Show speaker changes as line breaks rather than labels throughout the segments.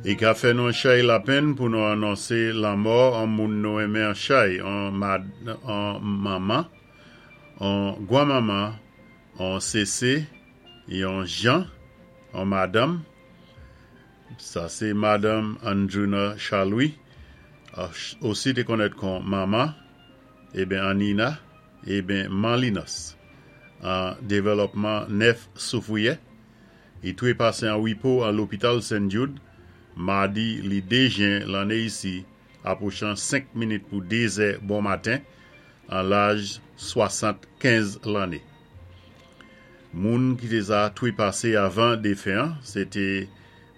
I ka fè nou an chay lapenn pou nou anonsé lanmò an moun nou enmen an chay, an manman, an gwanmanman, an sésé, yon jan, an madanm. Sa sé Madanm Andruna Charles-Louis, osi té konnèt kon Mama, eben Anina, eben Manlinos, an Dévèlòpman 9 Soufwiyè. I twé pasé an wépo an lopital St. Jude, madi li 2 jen lanné isi, apwochan 5 minit pou 2 zè bon maten, an laj 75 lanné. Moun ki té za twé pasé avan défen an, sé té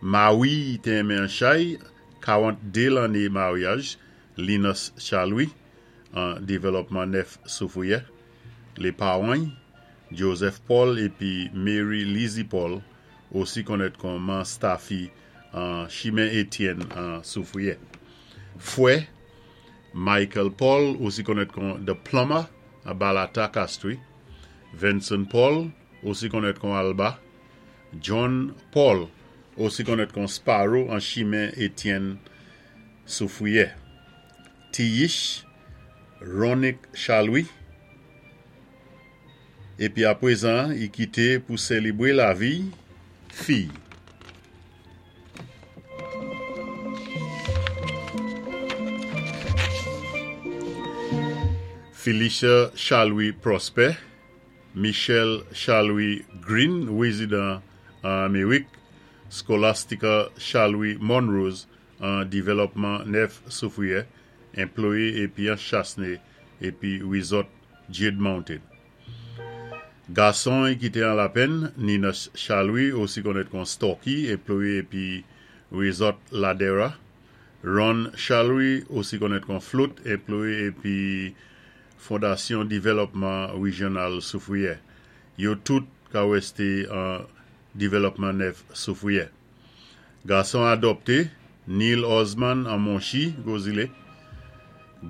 mawi i té enmen an chay, 42 lanné maryaj, Linus Charles-Louis, an Dévèlòpman 9 Soufwiyè. Lé pawan Joseph Paul épi Mary Lizzie Paul, osi konnèt kon Man Staffy an Chimen Étienne an Soufwiyè. Fwè, Michael Paul, osi konnèt kon The Plumber an Balata Castries, Vincent Paul, osi konnèt kon Alba, John Paul, osi konnèt kon Sparrow an Chimen Étienne Soufwiyè. Tiyish, Ronick Charles-Louis, épi apwézan i kité pou sélébwé lavi fiy. Felicia Charles-Louis Prosper, Michel Charles-Louis Green, wézidan an Améwik, Scholastica Charles-Louis Monrose an Dévèlòpman 9 Soufwiyè, enployé épi an Chasne épi Resort Jade Mountain. Gason ki té an lapenn, Nina Charles-Louis, osi konnèt kon Stocky, enployé épi Resort Ladera. Ron Charles-Louis, osi konnèt kon Float, enployé épi Fondasyon Dévèlòpman Wéjyonal Soufwiyè. Yo tout ka wésté an Dévèlòpman 9 Soufwiyè. Gason adòpté, Neil Osman an Monchi, Gwozilé.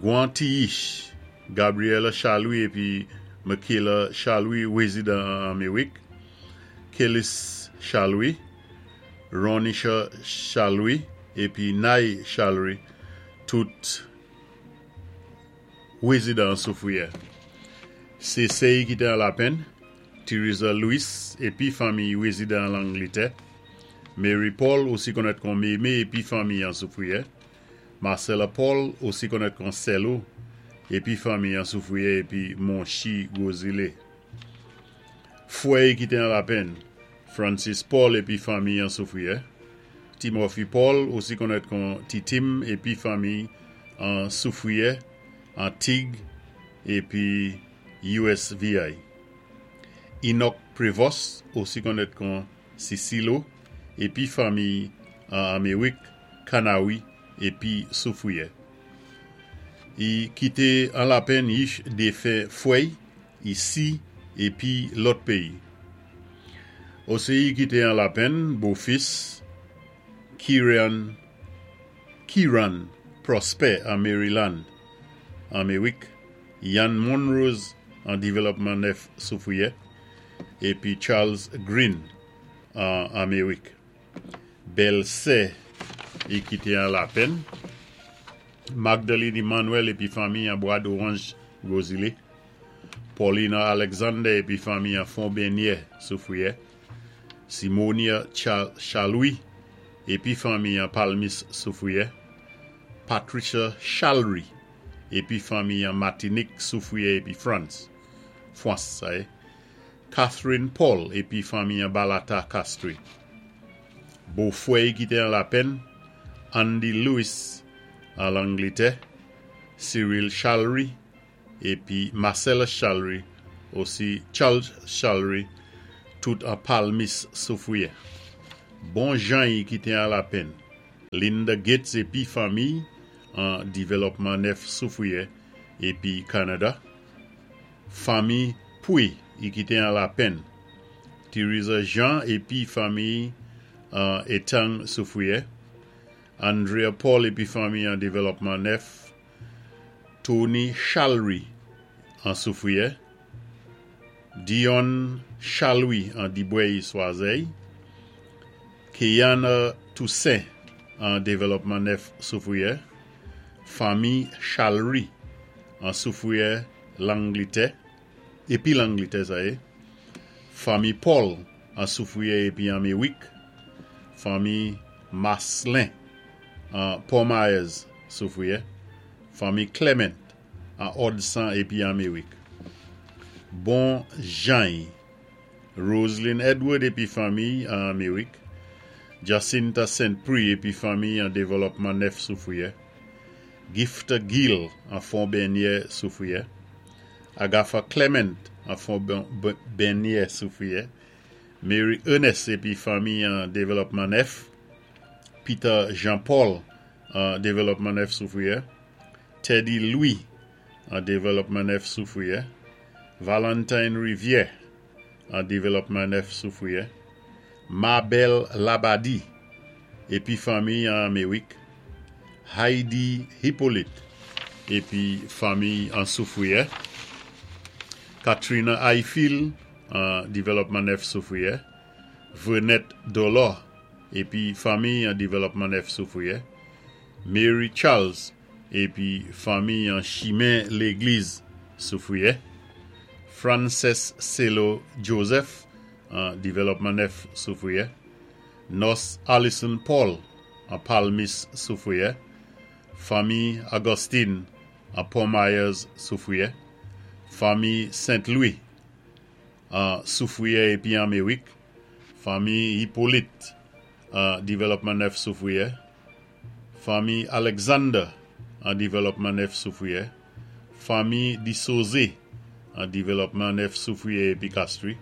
Gwan Tiyish, Gabriela Charles-Louis épi Michaela Charles-Louis, wézidan an Améwik. Kellis Charles-Louis, Ronisha Charles-Louis épi Nay Charles-Louis, tout wézidan an Soufwiyè. Séséy ki té an lapenn, Theresa Louis épi fanmiy wézidan an Langlétè. Mary Paul, osi konnèt kon Mémé épi fanmiy an Soufwiyè. Marcella Paul, osi konnèt kon Selo, épi fanmiy an Soufwiyè épi Monchi Gwozilé. Fwèy ki té an lapenn, Francis Paul épi fanmiy an Soufwiyè. Timothy Paul, osi konnèt kon Titim épi fanmiy an Soufwiyè, an Tig épi USVI. Enoch Prevost, osi konnèt kon Sisilo, épi fanmiy an Améwik, Kanawi épi Soufwiyè. I kité an lapenn yich défen fwèy isi épi lòt péyi. Osi i kité an lapenn bofis Kiran Kiran Prosper an Maryland, Améwik, Yann Monrose an Dévèlòpman 9 Soufwiyè, épi Charles Green an Améwik. Bèl sè i kité an lapenn, Magdalene Emmanuel épi fanmiy an Bwa Doranj Gwozilé, Paulina Alexander épi fanmiy an Fon Benyè Soufwiyè, Simonia Charles-Louis épi fanmiy an Palmis Soufwiyè, Patricia Charles-Louis épi fanmiy an Matinik Soufwiyè épi Frans, Fwans sa yé, Catherine Paul épi fanmiy an Balata Castries. Bofwèy ki té an lapenn, Andy Lewis an Langlétè, Cyril Charles-Louis épi Marcellus Charles-Louis, osi Charles Charles-Louis, tout an Palmis Soufwiyè. Bon jany ki té an lapenn, Linda Gates épi fanmiy an Dévèlòpman 9 Soufwiyè épi Kanada, Fanmi Pouy i kité an lapenn, Theresa Jean épi fanmiy an Etang Soufwiyè, Andrea Paul épi fanmiy an Dévèlòpman 9, Tony Charles-Louis an Soufwiyè, Dion Charles-Louis an Dibwèy Swazèy, Keyana Toussaint an Dévèlòpman 9 Soufwiyè, Fanmi Chalry an Soufwiyè Langlitè, épi Langlitè sa yé, Fanmi Paul an Soufwiyè épi an Méwik, Fanmi Maslin an Pò Mayèz Soufwiyè, Fanmi Clement an Òdsan épi an Méwik. Bon Jany Roseline Edward épi fanmiy an Améwik, Jacinta Saint Prix épi fanmiy an Dévèlòpman 9 Soufwiyè, Gifta Gill an Fon Bènyè Soufwiyè, Agatha Clement an Fon Bènyè Soufwiyè, Mary Ernest épi fanmiy an Dévèlòpman 9, Peter Jean Paul an Dévèlòpman 9 Soufwiyè, Teddy Louis an Dévèlòpman 9 Soufwiyè, Valentine Rivière an Dévèlòpman 9 Soufwiyè, Mabel Labadie épi fanmiy an Améwik, Heidi Hippolyte épi fanmiy an Soufwiyè, Katrina Ayfil an Dévèlòpman 9 Soufwiyè, Vrenette Dolor épi fanmiy an Dévèlòpman 9 Soufwiyè, Mary Charles épi fanmiy an Chimen Légliz Soufwiyè, Frances Celo Joseph an Dévèlòpman 9 Soufwiyè, Nurse Allison Paul an Palmis Soufwiyè, Fanmi Augustine an Port Myers Soufwiyè, Fanmi Saint Louis an Soufwiyè épi an Méwik, Fanmi Hippolyte an Dévèlòpman 9 Soufwiyè, Fanmi Alexander an Dévèlòpman 9 Soufwiyè, Fanmi Disosé an Dévèlòpman 9 Soufwiyè épi Castries,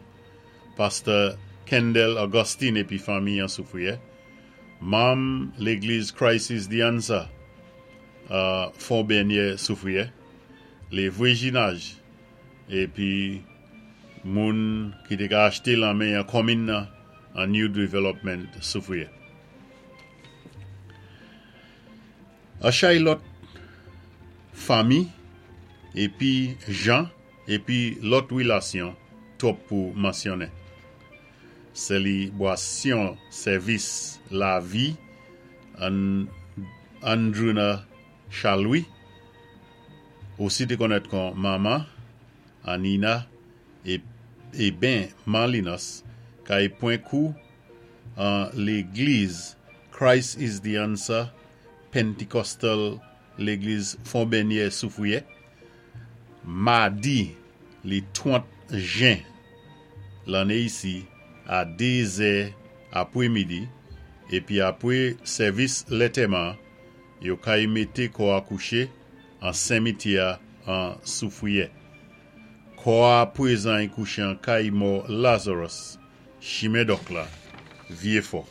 Pastè Kendall Augustine épi fanmi an Soufwiyè, Manm Légliz Christ is the Answer an Fon Bènyè Soufwiyè, Lé Vwéjinaj épi moun ki té ka achté lan men an konminn nan an New Development Soufwiyè. An chay lòt fanmi épi jan épi lòt wilasyon twòp pou mansyonnen. Sélibwasyon sèvis lavi Andruna Charles-Louis, osi té konnèt kon Manman Anina é ben Man Linos kay pwan kou an Légliz Christ is the Answer Pentecostal Légliz Fon Bènyè Soufwiyè, madi li 30 jen lanné isi a 2 zè apwé midi épi apwé sèvis lètèman yo kay mété kò a kouché an senmityè an Soufwiyè. Kò a pwézan kouché an kay mò Lazarus Chimen Dòk la, Vyé Fò.